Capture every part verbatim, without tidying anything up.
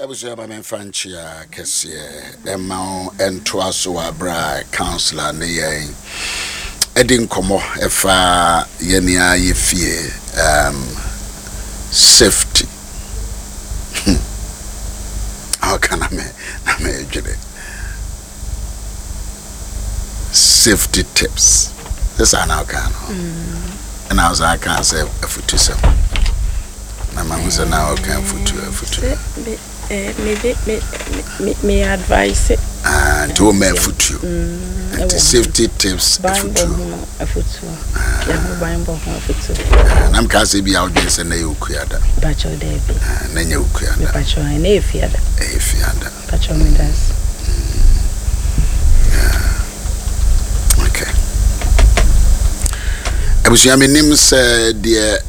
Abusua, ba memfa nkyea kɛseɛ ɛma wo ɛntoa so wɔ aberɛ a councillor ne yɛn ɛdi nkɔmmɔ ɛfa yɛne a yɛ fie um, safety. Ɔka na me na medwene safety tips sɛ saa na ɔka no, ɛna wo saa ka sɛ afutusɛm na mahu sɛ na ɔka afutu afutu. Sɛ me eh, me de me me me advice. Ah, nti woma afutuo Mm, nti ɛwɔ safety tips banbɔ afutuo. Ho afutuo, yɛho banbɔ ho afutuo. Ah, na meka sɛ bi a wodwene sɛ na ɛyɛ okuada. Bakyɛw, daabi. Ah, na nyɛ okuada. Mepakyɛw, ɛna yɛ fiada. Ɛyɛ fiada. Pakyɛw, medas. Okay, abusua, menim sɛ deɛ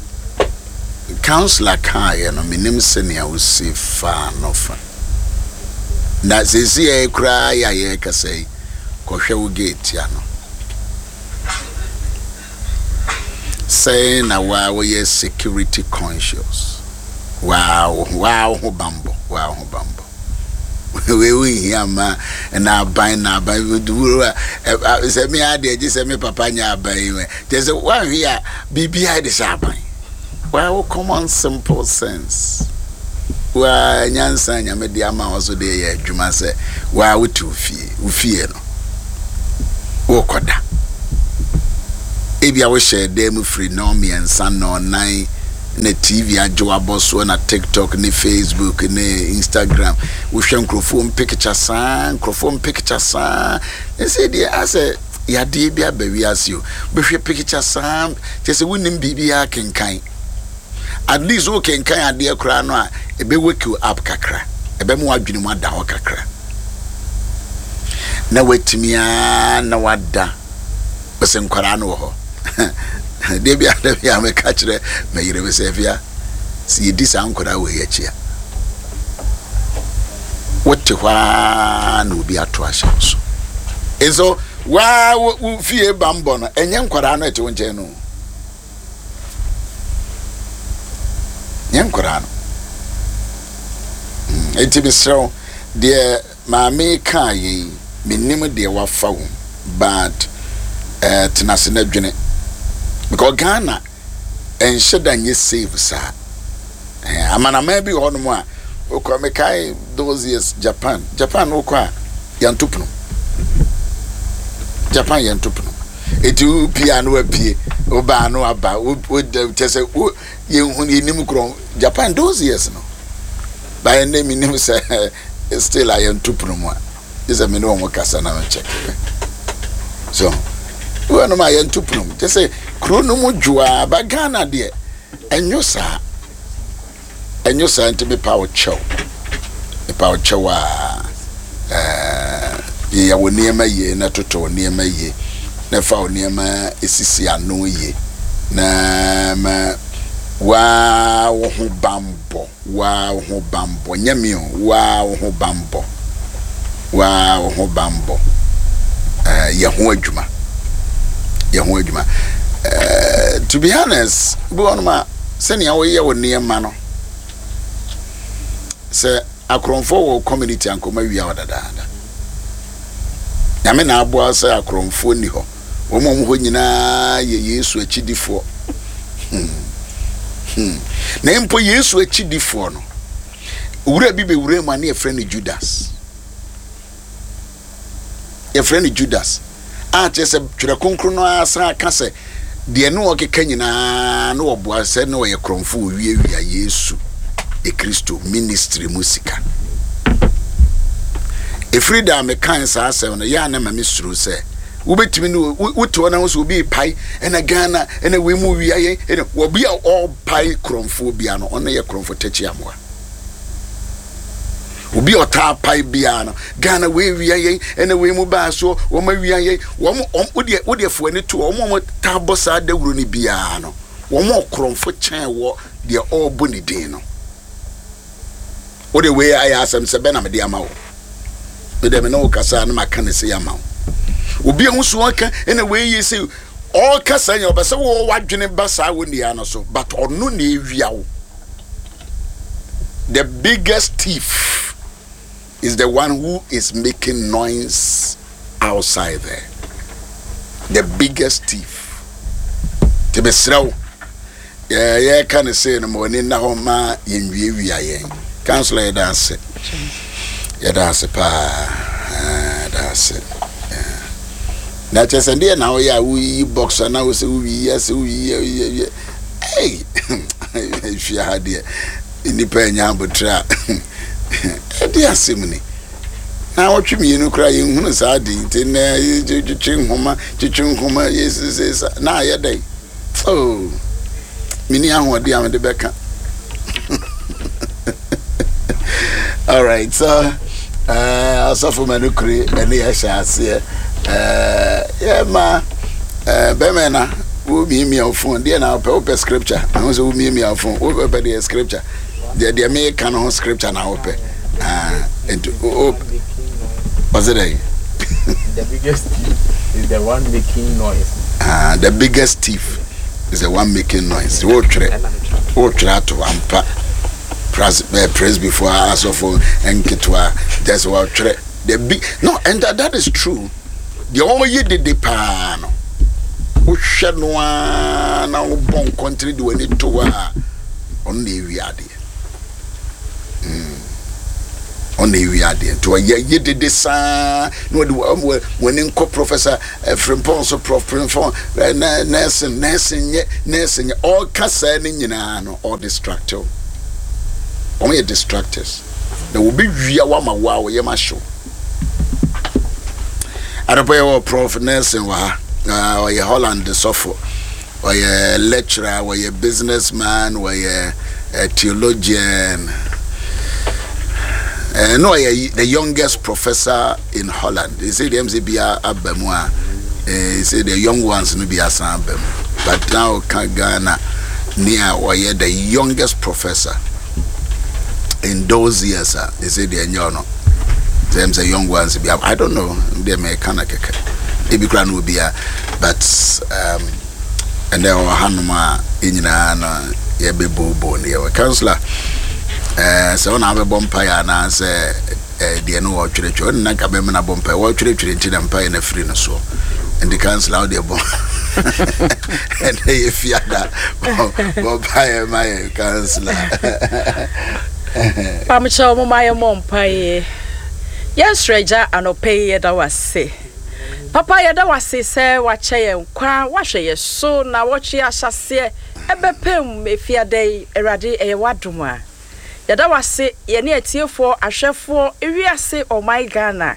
councillor kaeɛ no, menim sɛnea wosi faa no fa na seesi yɛ koraa yɛ a yɛrekasa yi, kɔhwɛ wo gate ano sɛn na waa wɔyɛ security conscious, waa wo waa wo ho bambɔ, waa wo ho bambɔ. Wei wo nhia ma na aban na aban wuro a sɛ me adeɛ gye sɛ me papa nyɛ aban yi mɛ kyerɛ sɛ woanhwe a biribiara de sɛ aban. Waa wo common simple sense, waa nyansa Nyame de ama wo so de yɛ adwuma sɛ waa wote wo fie, wo fie no wokɔda, ebia wohyɛ dan mu firi nnɔn mmiɛnsa, nnɔn nan, na T V agye wabɔ soɔ, na TikTok ne Facebook ne Instagram, wohwɛ nkurɔfoɔ mpicture saa, nkurɔfoɔ mpicture saa, ɛsɛ deɛ asɛ yadeɛ bi aba wiase o. Bɛhwɛ picture saa kyɛ sɛ wonim biribiara kenkan. At least wokenkan adeɛ koraa no a, ɛbɛ wake you up kakra, ɛbɛma w'adwene mu ada hɔ kakra na watumi a na wada. Ɔsɛ nkwaraa no wɔ hɔ deɛ bi ada bi a mɛka kyerɛ mɛyere me sɛ fia sɛ yɛdi saa nkwaraa wɔ yi akyi a, wote hɔ ara na obi ato ahyɛ wo so. Nso waa wo fie bambɔ no, ɛnyɛ nkwaraa no ɛte wo nkyɛn no, nyɛ nkwaraa no. Enti mesrɛ wo, deɛ maame kaa yɛ yi, menim deɛ wafa wo, but uh, tena ase na dwene, because Ghana ɛnhyɛ da nyɛ safe saa. eh, amanaman bi wɔ hɔnom a wokɔ, mekae those years, Japan, Japan wokɔ a yɛnto pono. Japan yɛnto pono, eti wopie a no wapie, wobaa no aba, kyɛ sɛ yɛnhu yɛnim korɔ Japan those years no. Bayɛ nnɛ menim sɛ still a yɛnto pono mu a gye sɛ me ne wɔn kasa na mekyɛke so wɔnom a yɛnto pono mu, kyɛ sɛ kuro no mu dwoa ba. Ghana deɛ ɛnyo saa, ɛnyo saa. Nti mepa wo kyɛw, mepa wo kyɛw a ɛɛ yɛyɛ wo nneɛma yie na toto wo nneɛma yie na fa wo nneɛma esisi ano yie na ma waa wo ho bambɔ, waa wo ho bambɔ. Nyɛ mi o, waa wo ho bambɔ, waa wo ho bambɔ. ɛɛ yɛ ho adwuma, yɛ ho adwuma. ɛɛ to be honest, bi wɔn a sɛnea wɔyɛ wɔ nneɛma no sɛ akorɔmfoɔ wɔ community ankɔma wia wɔ dadaada. Nyame na aboa sɛ akorɔmfoɔ ni hɔ. Wɔn a wɔn hɔ nyinaa yɛ Yesu akyidifoɔ. hmm. hmm. na mpo Yesu akyidifoɔ no, wura bi bɛwura mu a ne yɛfrɛ no Judas, yɛfrɛ no Judas a kyerɛ sɛ Twerɛ Kronkron no asan aka sɛ deɛ ne ɔkeka nyinaa ne wɔboa sɛ ne ɔyɛ korɔmfo, owiawia Yesu Kristo ministry mu sika. Ɛfiri da a mekan saa asɛm no yɛ a, na ma mesuro sɛ wobɛtumi ne wote hɔ na wo sɛ obi pae ɛna Ghana ɛna wei mu wia yɛn, ɛna wɔbi a ɔrepae korɔmfoɔ bia no, ɔno yɛ korɔmfo tɛkyi amoa. Obi a ɔtaa pae biara no, Ghana wei wia yɛn, ɛna wei mu baa soɔ wɔn awia yɛn, wɔn wɔn wodeɛ wodeɛ fo ani to wɔn a wɔn taa bɔ saa dawuro no biara no, wɔn ɔkorɔmfo kyɛn wɔ deɛ ɔrebɔ ne din no. Wode wei ayɛ asɛm sɛ bɛ na mede ama wo, mede me ne wo kasa na maka ne se ama wo. Obi a ho so ɔka ɛna wei yi sɛ ɔreka saa nyɛ ɔbɛ sɛ wɔwɔ wadwene ba saa wɔ nnua no so, but ɔno na ewia wo. The biggest thief is the one who is making noise outside there. The biggest thief. Te mesrɛ wo, yɛka ne sei no, ma w'ani nna hɔ ma yɛnwiawia yɛn. Councillor, yɛda ase, yɛda ase paa, yɛda ase. Na kyerɛ sɛ deɛ na woyɛ a woyiyi box a na wo sɛ wowiyi sɛ wowiyi. Ei, hwia ha deɛ, nnipa anya abotrɛ a ɛde asɛm ni na wɔtwe mmienu koraa yɛnhunu saa de. Nti na twetwe nhoma, twetwe nhoma, yɛsesesa na ayɛ dɛn? Oh, meni ahoɔden a mede bɛka. All right, so uh, asɔfo ma no kure ɛne yɛhyɛ aseɛ. Yɛma bɛmɛ na womiamia wo phone deɛ na wopɛ wopɛ scripture. Ɛho sɛ womiamia wo phone, wopɛ deɛ scripture deɛ deɛ meka no ho scripture na wopɛ. Nti ɔsɛ dɛn? The biggest thief is the one making noise. Uh, the biggest thief is the one making noise. Wotwerɛ wotwerɛ ato ampa. Praise before asɔfo nketewa just wɔtwerɛ the big no, and that, that is true. Deɛ wɔyɛ dede paa no, wohwɛ no a na wobɔ nkɔntene de w'ani to hɔ a, ɔno na ewi adeɛ. Ɔno na ewi adeɛ. Nti ɔyɛ yɛ dede saa na wɔde w'ani nkɔ Professor Frimpong so, Prof Frimpong, nursing nursing nyɛ nursing nyɛ. Ɔka saa ne nyinaa no, ɔdistract wo. Wɔn yɛ distractors na obi wia wama wo a wɔyɛ ma hyew. Adɔpɔ yɛ wɔ Prof Nursing wɔ ha. Ɔyɛ Holland sɔfo, ɔyɛ lecturer, ɔyɛ businessman, ɔyɛ theologian. Uh, no, ɔyɛ the youngest professor in Holland. They say the M C bia aba mu a, they say the young ones no bi asan aba mu, but now ka Ghana nea ɔyɛ the youngest professor in those years a, they say the ɛnyɛ ɔno sɛ sɛ young ones bi, I don't know deɛ mɛka na kɛkɛ ebi kura no obi a, but um, ɛnɛ ɔwɔ hanom a yɛn nyinaa no yɛbɛbooboo no. Yɛwɔ councillor ɛɛ sɛ ɔna abɛbɔ mpaeɛ anaasɛ ɛɛ deɛ no wɔtwerɛtwerɛ ɔne nanka bɛma no abɔ mpaeɛ. Wɔtwerɛtwerɛ nti na mpaeɛ no afiri no soɔ. Nti councillor, wodeɛ bɔ. Ɛnɛ yɛ fiada, bɔ mpaeɛ ma yɛ, councillor. Pamkyɛw, mo ma yɛmmɔ mpaeɛ. Yɛnsrɛ Agya, anɔpɛ yi yɛda wo ase papa, yɛda wo ase sɛ wakyɛ yɛn kwa, wahwɛ yɛ so na wɔtwe ahyɛseɛ ɛbɛpem efiada yi. Awurade, ɛyɛ w'adom a yɛda wo ase. Yɛne atiefoɔ, ahwɛfoɔ, ewiase, ɔman Ghana,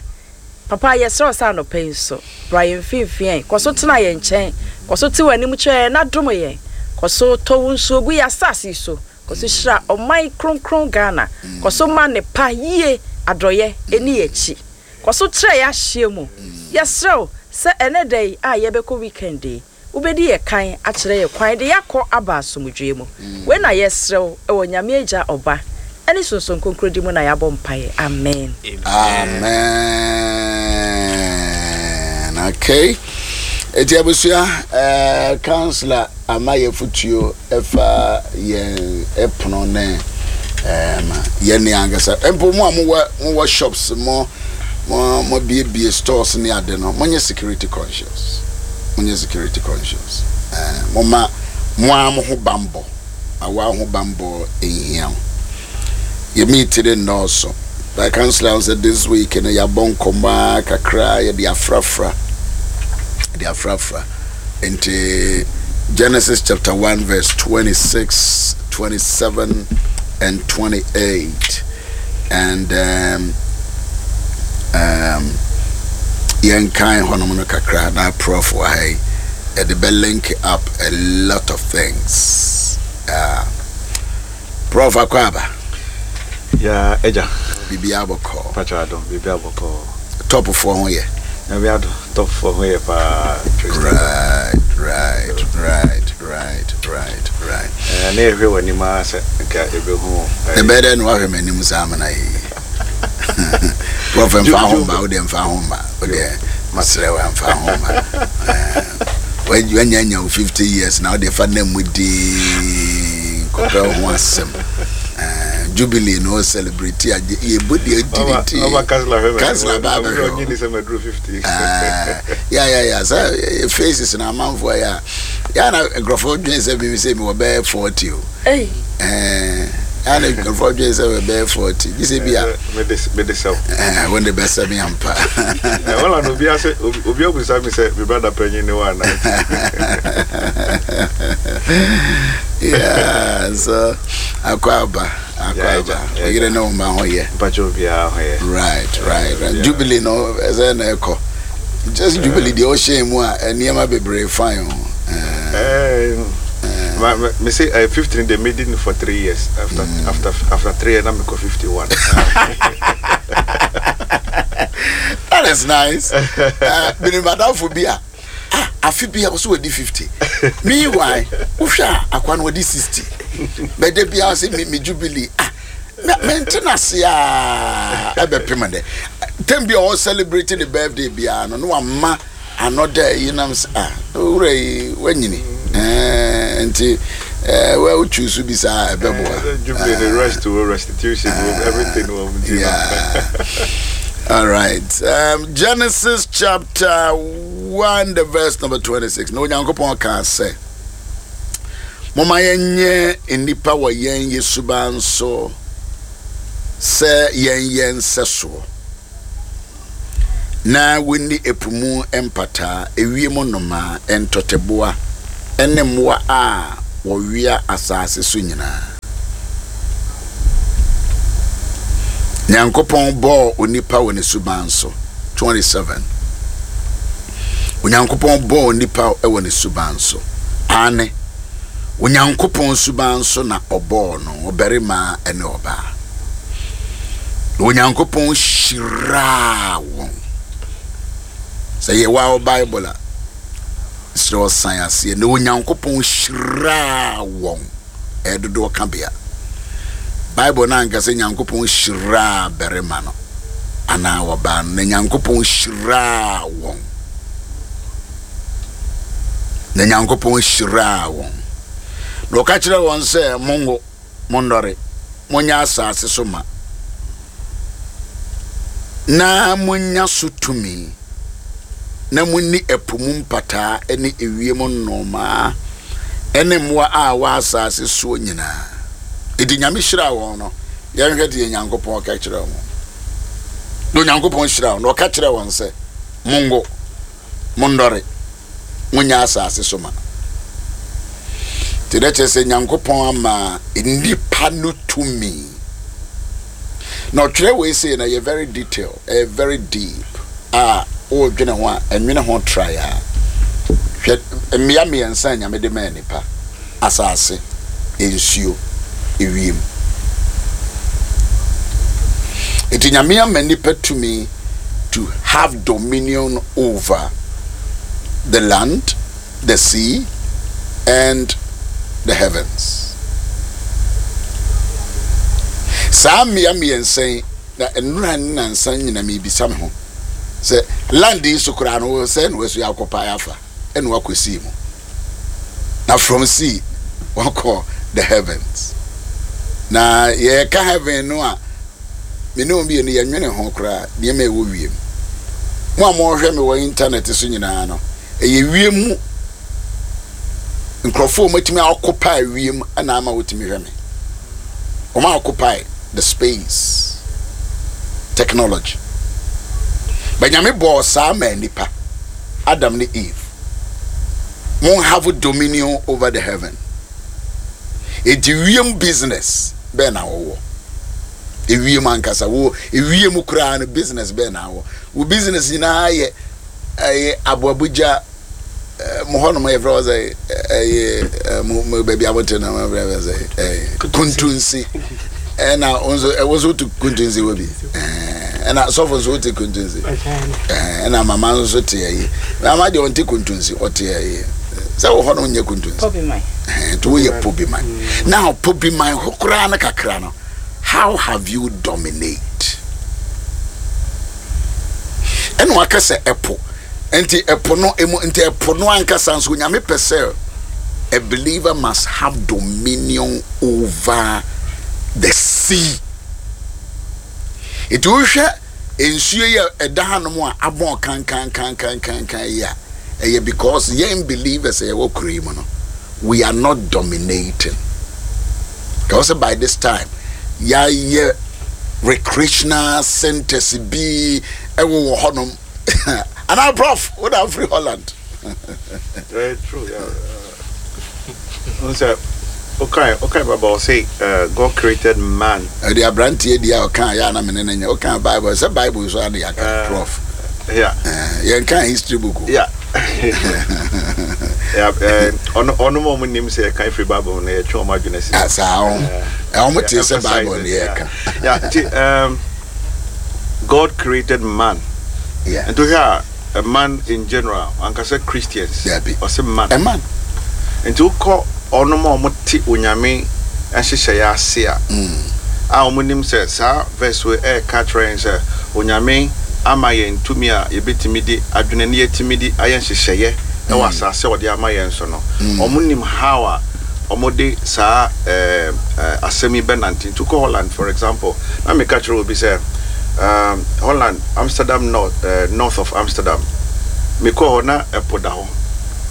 papa, yɛsrɛ wo sɛ anɔpɛ yi nso bra yɛn mfimfini, kɔ so tena yɛn nkyɛn, kɔ so te w'anim kyerɛ yɛn na dom yɛn, kɔ so tɔ wo nsuo gu yɛ asase yi so, kɔ so hyira ɔman kronkron Ghana, kɔ so ma ne pa yie adɔyɛ ɛni yɛn akyi, kɔ so trɛ yɛ ahyia mu. Yɛsrɛ wo sɛ ɛnɛ da yi a yɛbɛkɔ weekend yi, wobɛdi yɛ kan akyerɛ yɛ kwan de yɛakɔ aba asomdwoe mu. Wei na yɛsrɛ wo ɛwɔ Nyame Agya, Ɔba ɛne Sonson Kronkron di mu na yɛabɔ mpaeɛ. Amen. Amen. Okay, eti abusua, ɛɛ councillor ama yɛ futuo ɛfa yɛn ɛpono ne ɛɛm yɛn ne ankasa mpo mo a mowɔ mowɔ shops, mo mo mo biebie stores ne ade no, monyɛ security conscious, monyɛ security conscious. ɛɛ mo ma mo a mo ho bambɔ awa ho bambɔ ehia o. Yɛ meet ne nnɔɔso by councillor sɛ this week no yɛabɔ nkɔmmɔ a kakra, yɛde afrafra, yɛde afrafra. Nti Genesis chapter one verse twenty-six, twenty-seven and twenty-eight, and um, um, yɛnkan hɔnom no kakra na Prof wɔ ha yi, yɛde bɛ link up a lot of things. uh, prof akɔ aba. Ya agya. Biribiara bɔkɔɔ? Patro adom, biribi abɔkɔɔ. Tɔpofoɔ ho yɛ? Nyame adom, tɔpfoɔ ho yɛ paa. right right right right right right Eh, na yɛhwɛ w'anim ara sɛ nka ɛbɛhu. Ɛbɛyɛ dɛ na wahwɛ m'anim saa amena yi. Prof, mfa ho mba, wodeɛ mfa ho mba, wodeɛ masrɛ wo, mfa ho mba. Wanya nya wo fifty years na wodeɛ fa na mu dii nkɔpɛ wo ho asɛm. Jubilee no celebrate a yɛbɔ deɛ Ɔba adi ɔba kansila hwɛ mɛ. Kansila ba abɛhwɛ Ɔnyi ni sɛ mɛ duro fifty. Ya ya ya, sɛ eh, faces na amanfoɔ yɛ a yɛ na nkurɔfoɔ dwen sɛ biribi sɛ mi wɔ bɛyɛ forty o. Ei. Ɛɛ yɛ na nkurɔfoɔ dwen sɛ wɔ bɛyɛ forty gye sɛ bi a Mɛ de mɛ de sɛw. ɛɛ wɔn de bɛsɛ mi ampa. Ɛ wɔla na obi ase obi obi abusa mi sɛ mi brother panyin ni wa na. Yeah, so akɔ aba, akɔ Yeah, aba. yeah. Oyere ne wo ma ho yɛ? Mpatsɛ obiara ho yɛ. right right right Yeah. Jubilee no, ɛsɛ na ɛkɔ just jubilee deɛ ɔhyɛ mu a, nneɛma bebree fine o. Ɛɛ, Ɛɛ ma me me say uh, fifteen they made it for three years after mm. after after three years na me kɔ fifty one. That is nice. uh, Menim adamfo bi a, ah, afe bi a ɔsɛ wɔdi fifty. Meanwhile wohwɛ a, akwa no wɔdi sixty, bɛda bi a ɔsɛ me me jubilee. Ah, mente n'ase a ɛbɛpem dɛ tem bi a ɔwɔ celebrate ne birthday biara no, na wama another yi nam sɛ, ah, owura yi wanyini. ɛɛ nti ɛɛ wa wotwi so bi saa, ɛbɛboa. Jubilee the rest to restitution, everything wɔ mu ti. Yeah. All right. Um, Genesis chapter one, the verse number twenty-six. No, Onyankopɔn ka sɛ, "Moma yɛnyɛ nnipa wɔ yɛn yɛ suban so sɛ yɛn yɛn nsɛsoɔ. Na wɔnni epo mu mpataa, ewiem nnomaa, ntɔteboa, ɛne mmoa a wɔwea asase so nyinaa." Nyankopɔn bɔɔ onipa wɔ ne suban so. twenty-seven. Onyankopɔn bɔɔ onipa wɔ ne suban so. Ane, Onyankopɔn suban so na ɔbɔɔ no, ɔbarima ne ɔbaa. Na Onyankopɔn hyiraa wɔn. Sɛ yɛwɔ wɔ Bible a, srɛ ɔsan aseɛ. Na Onyankopɔn hyiraa wɔn. Ɛyɛ dodoɔ ka bea. Bible no anka sɛ Nyankopɔn hyiraa barima no anaa ɔbaa no, na Nyankopɔn hyiraa wɔn. Na Nyankopɔn hyiraa wɔn. Na ɔka kyerɛ wɔn sɛ, monwo, monnɔre, monyɛ asase so ma, na monya so tumi, na monni ɛpo mu mpataa ne ewiem nnomaa ne mmoa a wɔ asase soɔ nyinaa. Enti Nyame hyiraa wɔn no, yɛnhwɛ deɛ Nyankopɔn ka kyerɛ wɔn. Na Onyankopɔn hyiraa wɔn, na ɔka kyerɛ wɔn sɛ, mongo, monnɔre, monyɛ asase so ma. Nti dɛ kyerɛ sɛ Nyankopɔn ama nnipa no tumi. Na ɔtwerɛ wei sei na yɛ very detail, ɛyɛ very deep a wɔredwene ho a, ɛnwene ho try a. Hwɛ mmea mmiɛnsa a Nyame de maa nipa: asase, nsuo, ewiem. Nti Nyame ama nipa tumi to have dominion over the land, the sea and the heavens. Saa mmea mmiɛnsa yi na nnura ne nansa nyina mebisa me ho sɛ, land yi so koraa no, sɛ na wasu akɔpae afa ɛna wakɔ sea mu, na from sea wakɔ the heavens. Na yɛka heaven no a, me ne wɔn mmienu yɛnwene ho koraa, nneɛma a ɛwɔ wiem. Mo a mohwɛ me wɔ internet so nyinaa no, ɛyɛ wiem mu nkurɔfoɔ a wɔatumi occupy wiem ɛna ama wɔtumi hwɛ me. Wɔn a occupy the space technology. Bɛnyame bɔɔ saa ma nipa Adam ne Eve, mo have dominion over the heaven. Eti wiem business bɛɛ na wɔwɔ? Ewiem ankasa wo, ewiem koraa no, business bɛɛ na wɔ? Wo business nyinaa yɛ ɛyɛ aboabogya mo hɔnom, yɛfrɛ wɔ sɛ ɛyɛ mo mo baabi a mote no, yɛfrɛ wɔ sɛ ɛyɛ Kuntunsi. Ɛna wo nso, ɛwo nso wote Kuntunsi wɔ bi, ɛna sɔfo nso wote Kuntunsi, ɛna mama nso te ɛyi. Mama deɛ, ɔnte Kuntunsi, ɔte ɛyi sɛ wɔ hɔ no nyɛ Kuntunsi nti woyɛ Pobiman. Now Pobiman hɔ koraa no kakra no, how have you dominate? Ɛna waka sɛ ɛpo, nti ɛpo no emu, nti ɛpo no ankasa nso, Onyame pɛ sɛ a believer must have dominion over The sea. Nti wohwɛ nsuo yi a ɛda hanom a abɔn kankankankankankan yi a, ɛyɛ because yɛn believers a yɛwɔ kuro yi mu no, we are not dominating. Because by this time yɛayɛ recreational centers bi ɛwɔ wɔ hɔnom anaa. Prof, wo na afiri Holland. Very true, yeah. Uh, sɛ okay okay baba, ɔsɛ uh, God created man. Ɛde aberanteɛ di a ɔka yɛ ana mene ne nyɛ ɔka Bible sɛ Bible so ade yɛaka. Uh, Prof, yeah eh, yɛnka history book o. yeah yeah uh, ɔno ɔno mo ɔmo nim sɛ yɛka efiri Bible no, yɛtwe ɔmo adwene si. Ah, saa ho ɔmo te sɛ Bible ne yɛka. Yeah, nti um, God created man. Yeah. Nti wohwɛ a, a man in general, ankasa Christians. Dabi. Ɔsɛ man. A man. Nti wokɔ ɔnom a ɔmo te Onyame nhyehyɛeɛ ase a a ɔmo nim sɛ saa verse wei ɛɛka kyerɛ yɛn sɛ Onyame ama yɛn tumi a yɛbɛtumi de adwene ne yɛtumi de ayɛ nhyehyɛeɛ ɛwɔ asase a ɔde ama yɛn so no, ɔmo nim how a ɔmo de saa ɛɛ ɛɛ asɛm yi bɛnante. Nti wokɔ Holland, for example, na meka kyerɛ obi sɛ um, Holland, Amsterdam, north uh, north of Amsterdam, mekɔ hɔ na ɛpo da hɔ.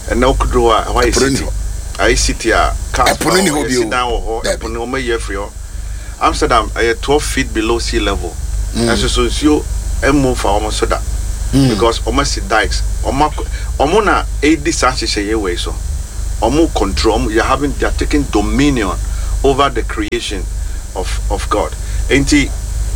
Ɛnna wokɔduru hɔ a, ɛhɔ ayɛ Ɛpo no ni city hɔ. Ayɛ city a cars Ɛpo no ni hɔ bio. yɛsi dan wɔ hɔ. Dabi. Ɛpo no, wɔn ayi afiri hɔ. Amsterdam ɛyɛ twelve feet below sea level, ɛnso so nsuo ɛmu fa wɔn so da because wɔn asi dikes. wɔn akɔ wɔn na edi saa nhyehyɛeɛ wɔ yi so. Wɔn control wɔn, they are having they are taking dominion over the creation of of God. Nti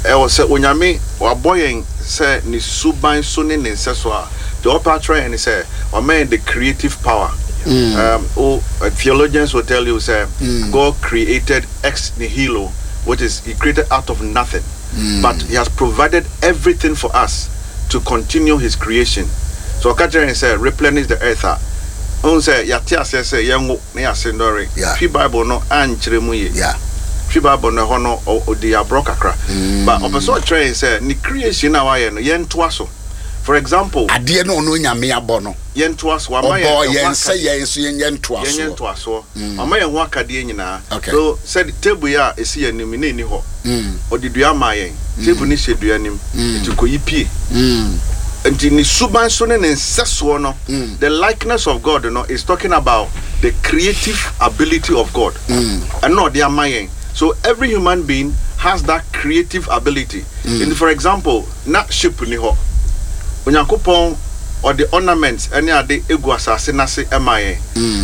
ɛwɔ sɛ Onyame wabɔ yɛn sɛ ne suban so ne ne nsa so a, deɛ ɔpɛ atwerɛ yɛn ne sɛ wama yɛn the creative power. Um, oh, uh, theologians will tell you sɛ God created ex nihilo, which is he created out of nothing, but he has provided everything for us to continue his creation. So ɔka kyerɛ yɛn sɛ replenish the earth a, ɔn sɛ yɛate aseɛ sɛ yɛnwo na yɛase ndɔre. Yeah. Twi Bible no ankyerɛ mu yie. Yeah. Twi Bible no, ɛhɔ no ɔ- ɔdi aborɔ kakra, but ɔpɛ sɛ ɔkyerɛ yɛn sɛ ne creation a wayɛ no, yɛntoa so. For example, adeɛ no ɔno Nyame abɔ no, yɛntoa so. Wama ɔbɔ yɛn yɛn ɛho sɛ akadeɛ. Yɛn nso yɛnyɛ Yɛnyɛ ntoasoɔ. Ntoasoɔ. Ɔma yɛn ho akadeɛ nyinaa. Okay. So sɛ table yi a ɛsi yɛn anim ne ɛni hɔ, ɔde dua ama yɛn. Table no hyɛ dua nim, nti kɔyi pie. Mm. Nti ne suban so ne ne nsɛsoɔ no, the likeness of God no is talking about the creative ability of God. Ɛno ɔde ama yɛn. So every human being has that creative ability. Nti for example, na ship ni hɔ, Onyankopɔn ɔde ornaments ɛne ade egu asase n'ase ɛma yɛn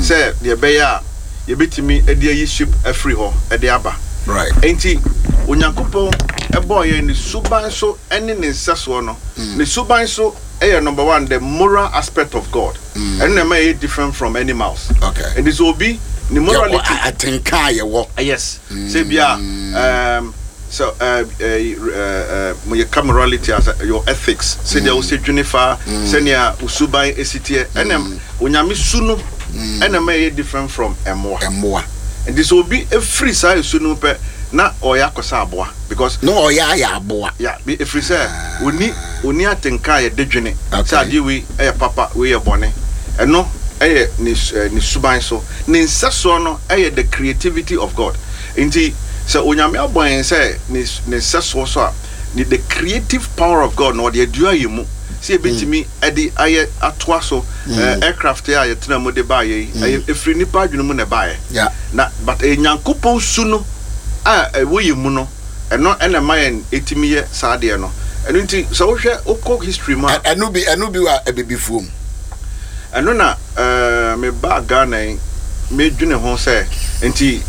sɛ deɛ ɛbɛyɛ a yɛbɛtumi ɛde ayi ship afiri hɔ ɛde aba. Right. Nti Onyankopɔn ɛbɔɔ yɛn ne suban so ɛne ne nsɛsoɔ no. Ne suban so ɛyɛ number one, the moral aspect of God. Ɛno na ɛma yɛ different from animals. Okay. Nti sɛ obi ne morality, Yɛwɔ atenka a yɛwɔ. Yes, sɛ bia um, so uh, uh, uh, mo yɛka morality as uh, your ethics, sɛdeɛ wosɛ dwene fa, sɛnea wo suban esi teɛ, ɛna Onyame su no ɛna ɛma yɛ different from ɛmmoa. Mmoa. Nti sɛ obi efiri saa esu no pɛ na ɔyɛ akɔsa aboa because na ɔyɛ ayɛ aboa. Ya bi efiri sɛ oni oni atenka a yɛde dwene Okay. sɛ adeɛ wei ɛyɛ papa, wei yɛ bɔne. Ɛno ɛyɛ ne su- ɛ, ne suban so. Ne nsɛsoɔ no ɛyɛ the creativity of God. Nti sɛ Onyame abɔ yɛn sɛ ne ne nsɛsoɔ so a, ne the creative power of God na ɔde adua yɛn mu sɛ yɛbɛtumi ɛde ayɛ atoa so. ɛɛ aircraft yi a yɛtena mu de baayɛ yi, ɛyɛ efiri nipa adwene mu na ɛbaayɛ. Yeah. Na but ɛyɛ Nyankopɔn su no a ɛwɔ yɛn mu no, ɛno ɛna ɛma yɛn ɛtumi yɛ saa adeɛ no. Ɛno nti sɛ wohwɛ, wokɔ history mu a, Ɛ- ɛno bi ɛno bi wɔ abibifuo mu. Ɛno na ɛɛ meba Ghana yi, medwene ho sɛ nti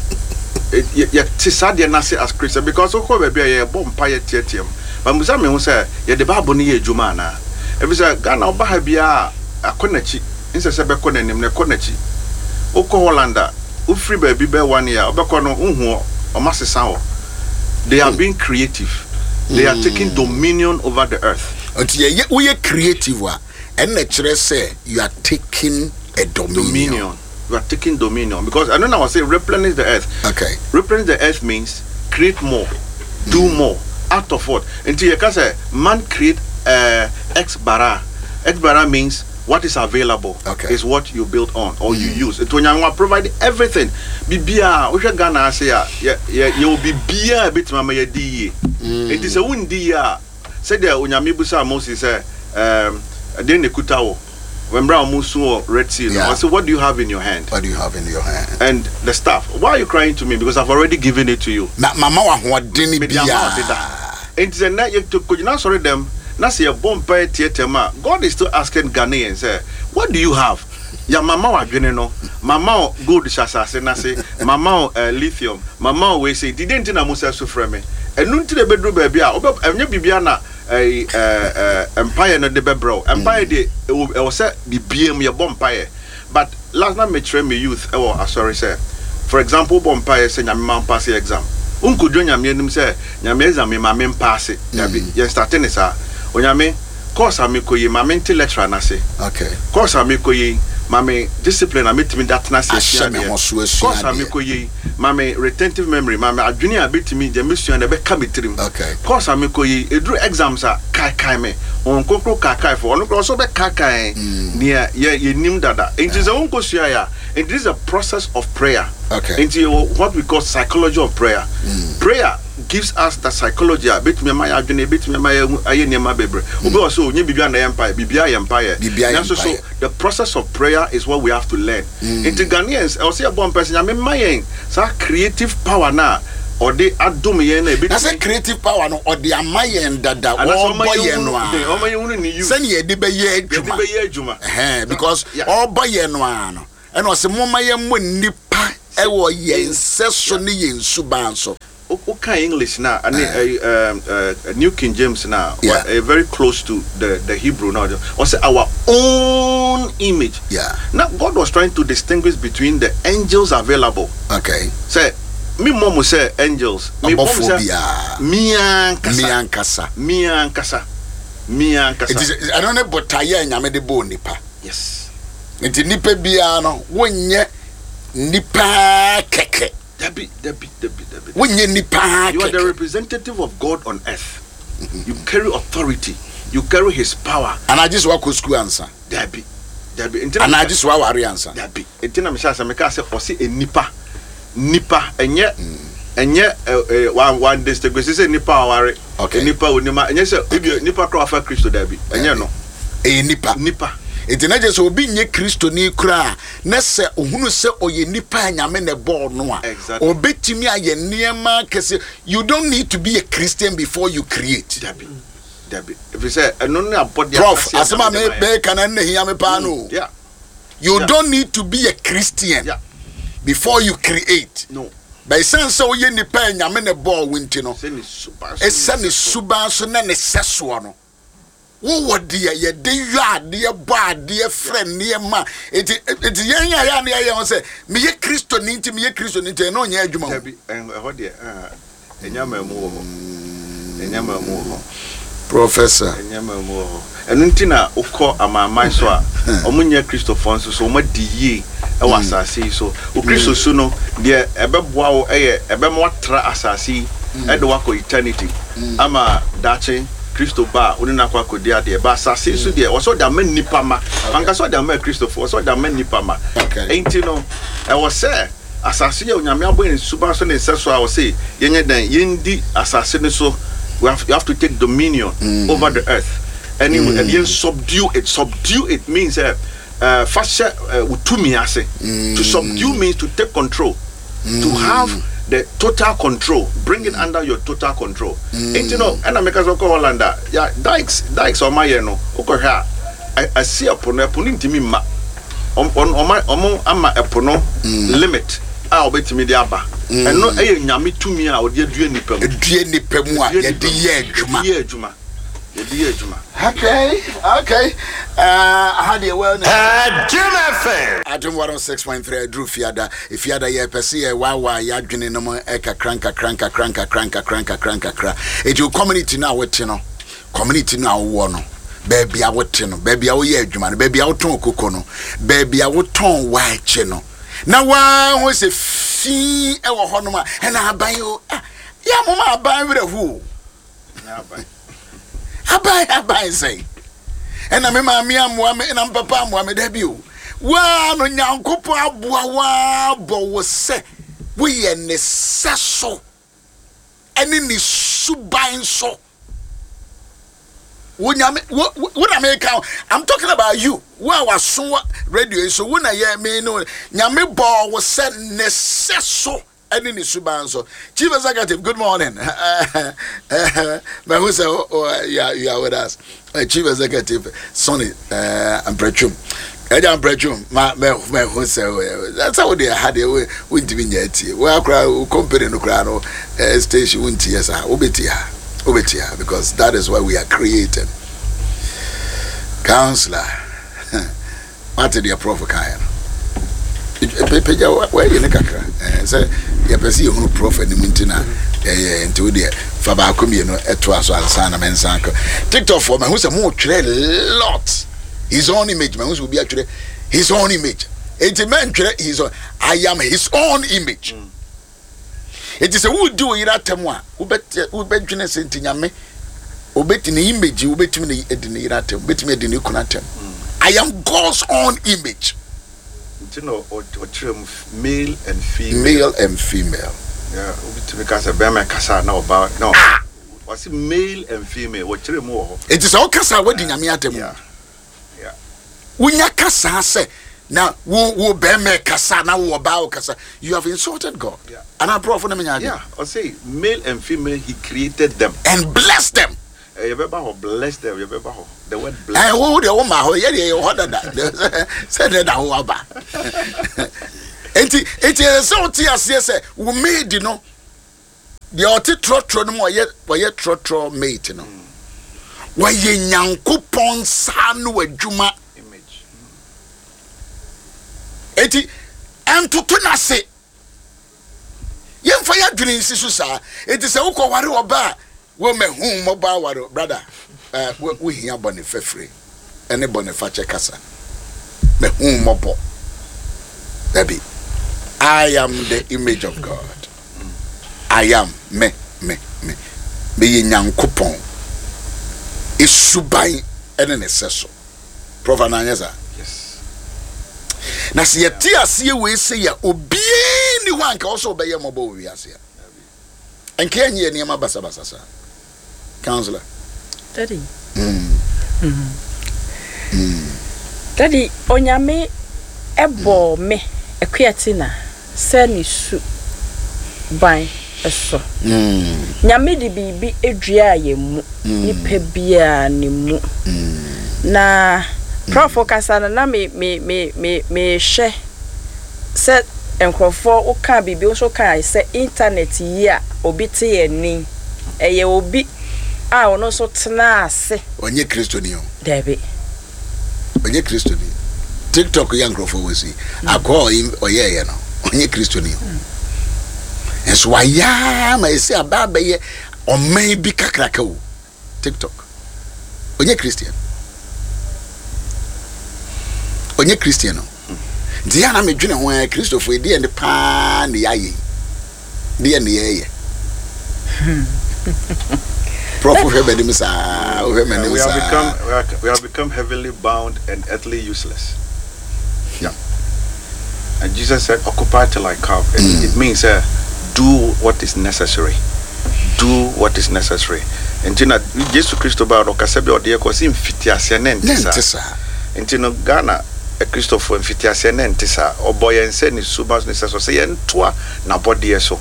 ɛ- yɛ- yɛte saa adeɛ no ase as Christian, because wokɔ baabi a yɛbɔ mpa, yɛ teateam, but musa me ho sɛ yɛde Bible no yɛ adwuma anaa? Ɛfiri sɛ Ghana woba ha biara a, akɔ n'akyi nsɛ sɛ bɛkɔ n'anim na ɛkɔ n'akyi. Wokɔ Holland a, wofiri baabi bɛɛ one year wobɛkɔ no, wohu hɔ ɔma sesa hɔ. They are being creative, they are taking dominion over the earth. Nti yɛyɛ woyɛ creative a, ɛnna kyerɛ sɛ you are taking a dominion. Dominion, you are taking dominion, because I know I say replenish the earth. Okay. Replenish the earth means create more, do more out of what. Nti yɛka sɛ man create uh, ex bara. Ex bara means What is available Okay. is what you build on or you use. Nti Onyame wa provide everything. Biribiara wohwɛ Ghana ase a, yɛ yɛ yɛwɔ biribiara a ebetumi ama yɛdi yie. Nti sɛ wondi yie a, sɛdeɛ Onyame busa Moses sɛ, ɛɛm, ɛdeɛn na ekuta wo? Mmerɛ a wɔn su wɔ Red Sea no, Yeah. ɔsɛ, "What do you have in your hand?" What do you have in your hand? And the staff. "Why are you crying to me? Because I've already given it to you." Na mama wa ahoɔden Mede ama wo deda. biara. Nti sɛ nnɛ yɛ kɔgyina asɔre dɛm na sɛ yɛbɔ mpae tiatia mu a, God is still asking Ghanaians sɛ, "What do you have?" Ya mama wo adwene no, mama wo gold hyɛ asase n'ase, mama wo uh, lithium, mama wo wei sei, dide nti na mo sɛ so frɛ me. Ɛno nti na ɛbɛduru baabi a wobɛ ɛnyɛ biribia na ɛyi ɛɛ ɛɛ mpaeɛ no de bɛbrɛ wo. Mpaeɛ deɛ, ɛwɔ ɛwɔ sɛ bibia mu yɛbɔ mpaeɛ, but last na mekyerɛ me youth ɛwɔ asɔre sɛ, for example, wobɔ mpaeɛ sɛ Nyame ma mpaase exam, nkodwo Nyame anim sɛ, "Nyame, exam mi ma me mpaase." Dabi, yɛn start ne saa. "Onyame, course a mekɔ yi, ma mente lecturer n'ase. Okay. Course a mekɔ yi, ma me discipline a metumi da tena ase Ahyɛ asua me adeɛ. ho so asua Course a adeɛ. mekɔ yi, ma me retentive memory, ma me adwene a betumi deɛ mesua no ɛbɛka me tirim. Okay. Course a mekɔ yi, eduru exams a, kaekae me wɔn kokoro kaekae fo ɔno koraa ɔsɔ bɛ kaekae nea yɛ yɛnim dada." Nti sɛ wɔnkɔ sua yɛ a, nti this is a process of prayer. Okay. Nti yɛwɔ what we call psychology of prayer. Prayer gives us the psychology a betumi ama yɛ adwene, betumi ama yɛ ayɛ nneɛma bebree. Obi wɔ so onye biribi a na yɛ mpaeɛ, biribi ayɛ mpaeɛ. Biribi ayɛ Nanso so mpaeɛ. The process of prayer is what we have to learn. Nti Ghanaians, ɛwɔ sɛ yɛbɔ mpaeɛ sɛ Nyame ma yɛn saa creative power na ɔde adom yɛn na Na sɛ ebetumi creative power no, ɔde ama yɛn dada. Anaasɛ ɔma ɔbɔ yɛn yɛn hunu no a den, ɔma yɛn hunu ne use. Sɛnea yɛde bɛyɛ yɛde adwuma. Bɛyɛ adwuma. Ɛhɛn, because Yeah. ɔbɔ yɛn no a no, ɛna ɔsɛ momma yɛmmɔ nnipa ɛwɔ yɛn nsɛ so ne yɛn suban so. Woka English na ɛne uh, um, uh, New King James na Yeah. uh, very close to the the Hebrew now, ɔsɛ "our own image". Yeah. Now God was trying to distinguish between the angels available, okay sɛ mi mmɔ mo sɛ angels, mi bɔ mo Ɔbɔfoɔ sɛ biara. mia Me nkasa. ankasa. Mia nkasa, mia nkasa. Nti sɛ- ɛno ne botaeɛ a Nyame de bɔɔ nipa. Yes. Nti nipa biara no, wonyɛ nipa kɛkɛ. Dabi, dabi, dabi, dabi. Wonyɛ nipa You are the kɛkɛ. representative of God on earth. You carry authority, you carry his power. Anagye sɛ woakɔ sukuu ansa? Dabi, dabi. Nti na Anagye sɛ woaware ansa? Dabi. Nti na mehyɛ asɛ meka sɛ ɔse enipa, nipa, ɛnyɛ ɛnyɛ ɛ ɛ wa wa distinguish sɛ nipa a ɔware, Okay. nipa a onim a, ɛnyɛ sɛ ebi nipa kora wafa Kristo. Dabi, ɛnyɛ no. Ɛyɛ nipa. Nipa. Nti na kyerɛ sɛ obi nyɛ Kristoni koraa na sɛ ohunu sɛ ɔyɛ nipa a Nyame na ɛbɔɔ no a, Exactly. obɛtumi ayɛ nneɛma kɛse. You don't need to be a Christian before you create. Dabi, dabi, efi sɛ ɛno ne abɔdeɛ Prof, akɛseɛ asɛm a Nyame de ma yɛn. mebɛka no na hia me paa no. Yeah you Yeah. don't need to be a Christian Yeah. before you create. No. But ɛsiane sɛ woyɛ nipa a Nyame ne bɔɔ wo nti no, sɛ ne suban so ɛsɛ ne suban so na ne sɛsoɔ no, wowɔ deɛ yɛde yɔ adeɛ, bɔ adeɛ, frɛ nneɛma. Enti enti yɛn a yɛ a ne yɛyɛ ho sɛ meyɛ Kristoni nti, meyɛ Kristoni nti, ɛno ɔnyɛ adwuma o. Dabi, ɛn- ɛhɔ deɛ, ɛn, ɛnya maa mu wɔ hɔ, ɛnya maa mu wɔ hɔ. Professor. Ɛnya maa mu wɔ hɔ. Ɛno nti na wokɔ amanaman so a ɔmo nyɛ Kristofoɔ nso so, ɔmo adi yie ɛwɔ asase yi so. O Kristo su no deɛ, ɛbɛboa wo, ɛyɛ ɛbɛma watra asase yi ɛde wakɔ eternity, ama daakye Kristo ba a, wone no akɔ akɔdi adeɛ ba. Asase yi so deɛ, wɔ sɛ ɔde ama nnipa ma. Ankasa ɔde ama Kristofoɔ, wɔ sɛ ɔde ama nnipa ma. Okay. Enti no, ɛwɔ sɛ asase yɛ Onyame abɔ yɛn suba so ne nsɛ so a, wɔse yɛnyɛ dɛn? Yɛndi asase no so. We have, you have to take dominion over the earth and mm. and yɛn subdue it. Subdue it means uh, uh, fa hyɛ uh, wo tumi ase. To subdue means to take control, to have the total control, bring it under your total control. Nti no, ɛna meka sɛ wokɔ Holland a, ya dikes dikes a ɔma yɛ no, wokɔhwɛ a, ɛ- ɛsi ɛpo no, ɛpo no ntumi mma. Ɔm- ɔm- ɔma ɔmo ama ɛpo no limit a ɔbɛtumi de aba. Ɛno ɛyɛ Nyame tumi a ɔde adua nipa mu. Due nipa mu a Adua yɛde nipa mu. yɛ adwuma. Yɛde yɛ adwuma, yɛde yɛ adwuma. okay okay uh, aha deɛ, well, Jim F M. Adom one oh six point three. Aduru Fiada. Fiada, yɛpɛ sɛ yɛwaawaa yɛadwene no mu nkakra nkakra nkakra nkakra nkakra nkakra nkakra. Ɛnti wo community no a wote no, community no a wowɔ no, baabi a wote no, baabi a woyɛ adwuma no, baabi a wotɔn koko no, baabi a wotɔn waakye no, na waa ho sɛ fii ɛwɔ hɔnom a, ɛna aban o, ah, yɛ moma aban werɛ ho o. Nyɛ aban. Aban, aban sɛn? Ɛna me maame amoa me, ɛna me papa amoa me. Dabi o, waa no Nyankopɔn aboa waa bɔ wo sɛ woyɛ ne sɛ so ɛne ne suban so. Wo Nyame wo wo na meka o, I'm talking about you. Wo a waso radio yi so, wo na yɛ me no. Nyame bɔ wo sɛ ne sɛ so ɛne ne suban so. Chief Executive, good morning. Mahu sɛ you are, you are with us. uh, Chief Executive Sonny uh, Amprɛtwom, ɛgya Amprɛtwom, ma mahu sɛ sɛ wode ha deɛ wontumi nya atie wo akora wo company no koraa no station wontie saa, wobɛtie ha, wobɛtie ha, because that is why we are creating. Counselor, wate deɛ Prof kaeɛ no? Pagya wɔayi ne kakra sɛ yɛpɛ sɛ yɛhunu Prof anim nti na ɛyɛ. Nti wo deɛ, fa baako mmienu ɛtoa so ansa na mensa kɔ TikTok foɔ. Mahu sɛ motwerɛ lot, "his own image". Mahu sɛ obi atwerɛ "his own image", enti mɛntwerɛ his own. I am his own image. Enti sɛ wodi wo yere atɛm a, wobɛdwene sɛ nti Nyame obɛti ne image, wobɛtumi ne adi ne yere atɛm, wobɛtumi adi ne kunu atɛm. I am God's own image. Nti na ɔkyerɛ mu male and female. Male and female. Yeah, wobɛtumi ka sɛ bɛrima kasa na ɔba na ɔse male and female, wɔkyerɛ mu wɔ hɔ. Enti sɛ wokasa a, woadi Nyame atɛm. Yeah. Yeah. Wonya kasa sɛ na wo wo bɛrima kasa na wo ɔbaa wo kasa, you have insulted God. Yeah. Anaa Prof ne menya adwene? Yeah, ɔse male and female he created them. And bless them. Eh, yɛbɛba hɔ, bless them, yɛbɛba hɔ, the word bless. Ɛ wo deɛ, wo ma hɔ, yɛ deɛ yɛ hɔ dada sɛ deɛ da ho aba. enti enti ɛsɛ sɛ wote aseɛ sɛ wo maid no deɛ, ɔte trɔtrɔ no mu, ɔyɛ ɔyɛ trɔtrɔ mate no, wɔyɛ Nyankopɔn nsa no adwuma. Image. Enti ɛntoto n'ase, yɛmfa yɛ adwene nsi so saa. Enti sɛ wokɔware ɔba a, wɔmahu mmɔbɔ aware, brother, uh, wohia bɔne fɛfiri ɛne bɔne fakyɛ kasa. Mahu mmɔbɔ, dabi. I am the image of God. I am me me me meyɛ Nyankopɔn esuban ɛne ne sɛ so. Prof, ananyɛ saa? Yes. Na sɛ yɛte aseɛ wei sɛ yɛ obiara ni hɔ a nka wɔ sɛ wobɛyɛ mmɔbɔ wɔ wiase a, nka yɛnyɛ yɛ nneɛma basabasa saa. Counselor. Daddy. mm. Mm. Daddy, Onyame ɛbɔ me Akuatina sɛ ne su ban so. Mm. Nyame de biribi adua yɛn mu, nipa biara ne mu. Na Prof kasa no na me me me me mehwɛ sɛ nkurɔfoɔ woka biribi nso ka sɛ internet yi a obi te yɛn ni, ɛyɛ obi a ɔno nso tena ase. Ɔnyɛ Kristoni o. Dabi. Ɔnyɛ Kristoni. TikTok yɛ nkurɔfoɔ wɔ si akɔ ɔyɛɛyɛ no, ɔnyɛ Kristoni o, nso wayɛ ma ɛsi aba abɛyɛ ɔman bi kakraka o. TikTok, ɔnyɛ Christian, ɔnyɛ Christian o. Nti yɛ na medwene ho ɛ, Kristofo ɛdeɛ ne paa ne yɛayɛ yi, deɛ ne yɛyɛ. Prof, wohwɛ m'anim saa, wohwɛ m'anim We have saa. become we, are, we have become heavenly bound and earthly useless. Yeah. And Jesus said, "Occupy till I come." It, mm. it means uh, do what is necessary. Do what is necessary. Nti na Yesu Kristo baa no, ɔkasa bi a ɔde yɛ kɔ sɛ mfitiaseɛ ne nte saa. Nti no Ghana Kristofo, mfitiaseɛ ne nte saa. Ɔbɔ yɛn sɛ ne suba so ne sɛ so sɛ yɛntoa n'abɔdeɛ so.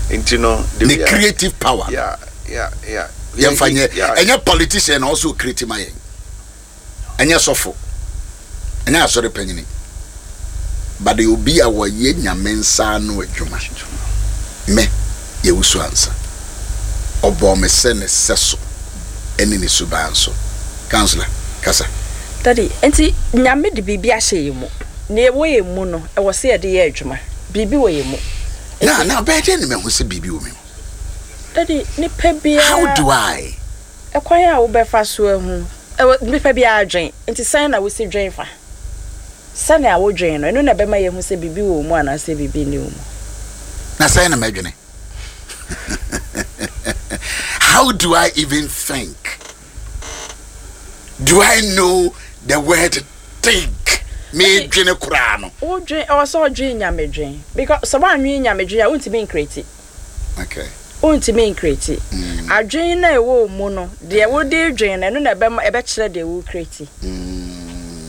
Nti no the creative power. Yeah, yeah, yeah. Yɛmfa nyɛ. Ɛnyɛ politician na ɔsɔ create ma yɛn, ɛnyɛ sɔfo, ɛnyɛ asɔre panyini, but obi a wɔyɛ Nyame nsa ano adwuma. Me yɛwusu ansa ɔbɔ me sɛ ne sɛ so ɛne ne suban so. Counselor, kasa. Daddy, nti Nyame de biribi ahyɛ yɛn mu. Nea ɛwɔ yɛn mu no, ɛwɔ sɛ yɛde yɛ adwuma. Biribi wɔ yɛn mu. Na na bɛyɛ dɛn ne mahu sɛ biribi wɔ me mu? Daddy, nipa biara How do I Ɛkwan a wobɛfa so ahu, ɛwɔ nipa biara dwen. Nti sɛn na wosi dwen fa? Sɛnea wodwen no, ɛno na ɛbɛma yɛhu sɛ biribi wɔ mu anaasɛ biribi nni wɔ mu. Na sɛn na mɛdwene? How do I even think? Do I know the word "think"? Medwene koraa no. Wodwen, ɛwɔ sɛ ɔdwen Nyame dwen, because sɛ woanwen Nyame dwen a, wontumi ncreate. Okay wontumi ncreate. Adwen na ɛwɔ wo mu no, deɛ wode dwen no, ɛno na ɛbɛma ɛbɛkyerɛ deɛ wo create.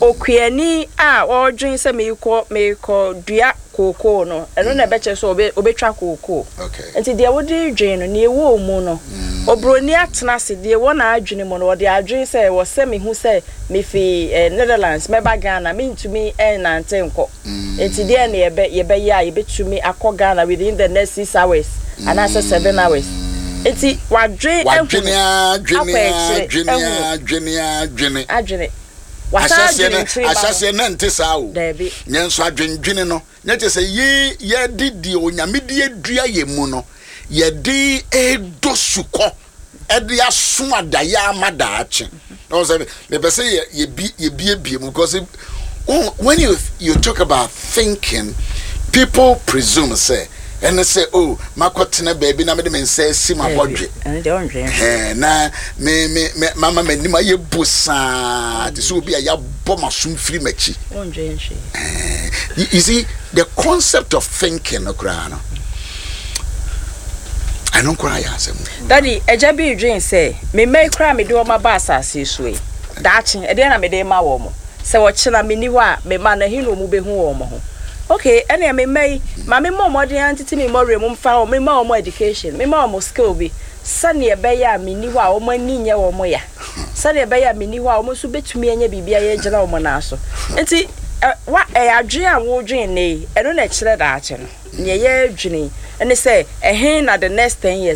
Okuani a ɔredwen sɛ meekɔ meekɔ dua kookoo no, ɛno na ɛbɛkyerɛ sɛ ɔbɛ ɔbɛtwa kookoo. Okay nti deɛ wode dwen no, nea ɛwɔ wo mu no, oburoni atena ase, deɛ ɛwɔ n'adwene mu no, wɔde adwen sɛ wɔ sɛ mehu sɛ mefi eh, Netherlands mɛba Ghana, mentumi ɛnante nkɔ, nti deɛ ne yɛbɛ yɛbɛyɛ a yɛbɛtumi akɔ Ghana within the next six hours anaasɛ seven hours. Nti wadwen. Wadwene ehunu adwene. Akɔ akyire, Adwene. Ehunu. Adwene, adwene. Adwene wasan Ahyɛseɛ adwene no nkyiri ba ho. Ahyɛseɛ no nte saa o. Daabi. Nyɛ nso adwendwene no nyɛ kyɛ sɛ ye yɛde deɛ Onyame de adua yɛ mu no, yɛde ɛdɔ sukɔ, ɛde aso adayɛ ama daakye na wɔn sɛ mepɛ sɛ yɛ yɛbi yɛbiebie mu, because it- when you you talk about thinking, people presume sɛ ɛne sɛ, oh, makɔtena baabi na mede me nsa asi ma bɔdwe. Ɛno deɛ, ɔndwen. Ɛɛ, na me me me mama m'anim ayɛ bo saa te sɛ obi a yɛabɔ m'asom firi m'akyi. Ɔndwen hwee. you, you see the concept of thinking no koraa no, ɛno koraa yɛ asɛm. Daddy, agya bi dwen sɛ me mma yi koraa, mede wɔn aba asase yi so yi, daakye ɛdeɛ na mede ma wɔn mo? Sɛ wɔkyena menni hɔ a, me mma no ɛhe na wɔn bɛhu wɔn ho? Okay, ɛnea me mma yi, ma me mmɔ mmɔden antete me mmɔwerɛ mu mfa wɔn, mema wɔn education, mema wɔn skill bi, sɛnea ɛbɛyɛ a menni hɔ a, wɔn ani nyɛ wɔn ya, sɛnea ɛbɛyɛ a menni hɔ a, wɔn nso bɛtumi anya biribi a yɛgyina wɔn nan so. Nti ɛ wa ɛyɛ adwene a wɔredwene ne yi, ɛno na ɛkyerɛ daakye no. Nea yɛredwene ɛne sɛ ɛhe na the next ten years.